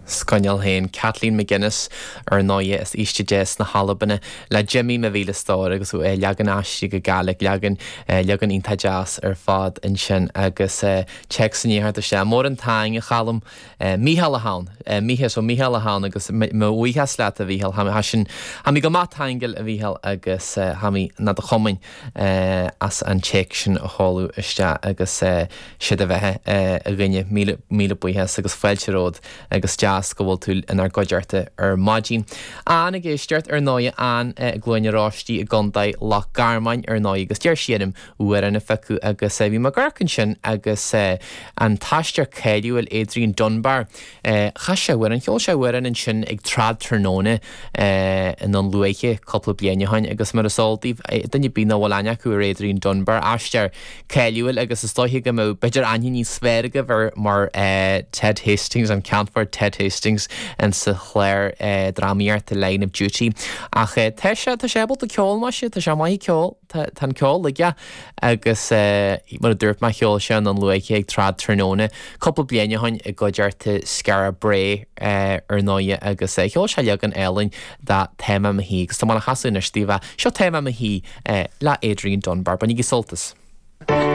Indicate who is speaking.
Speaker 1: 's coinneal féin, Kathleen McGuinness, ar ndóighe, as Oíste Dé sna hAlban, le Jimmy mo mhíle stór agus leagan aistrithe go Gàidhlig, leagan, leagan iontach deas ar fad ansin agus téacs i ndiaidh theacht isteach. Mór an taing, a Chaluim. Mícheál atá ann. Mícheál, so Mícheál atá ann agus mo bhuíochas leat, a Mhícheál. Tá sin, tha mi gu math taingeil, a Mhícheál, agus tha mi na do chumainn as an téacs sin a sheoladh isteach agus sé do bheatha, a dhuine. Míle, míle buíochas agus fáilte romhat agus deas go bhfuil tú inár gcuideachta ar maidin. Ann ag éisteacht, ar ndóighe, Ann i gCluain Oráistí i gContae Loch Garman, ar ndóighe, agus d'iarr sí orm amhrán a phiocadh agus bhí mé ag amharc ansin agus an t-aisteoir cáiliúil Adrian Dunbar, chas sé amhrán, cheol sé amhrán ansin ag Trad Tráthnóna i nDún Lúiche cúpla bliain ó shin agus mar is eol daoibh, duine ar bith nach bhfuil aithne acu ar Adrian Dunbar, aisteoir cáiliúil agus is dóiche go mbeadh b'fhéidir aithne níos fearr agaibh air mar Ted Hastings, an Ceannfort Ted Hastings insa chlár drámaíochta Line of Duty. Ach tá sé, tá sé ábalta ceol maise, tá sé maith ag ceol. Tá an ceol aige agus mar a dúirt mé cheol sé i nDún Lúiche ag Trad Tráthnóna cúpla bliain ó shin i gcuideachta Skara Brae ar ndóighe agus cheol sé leagan álainn de Tá Mé i Mo Shuí agus tá mé le chasadh anois daoibh. Seo Tá Mé i Mo Shuí le Adrian Dunbar. Bainigí sult as.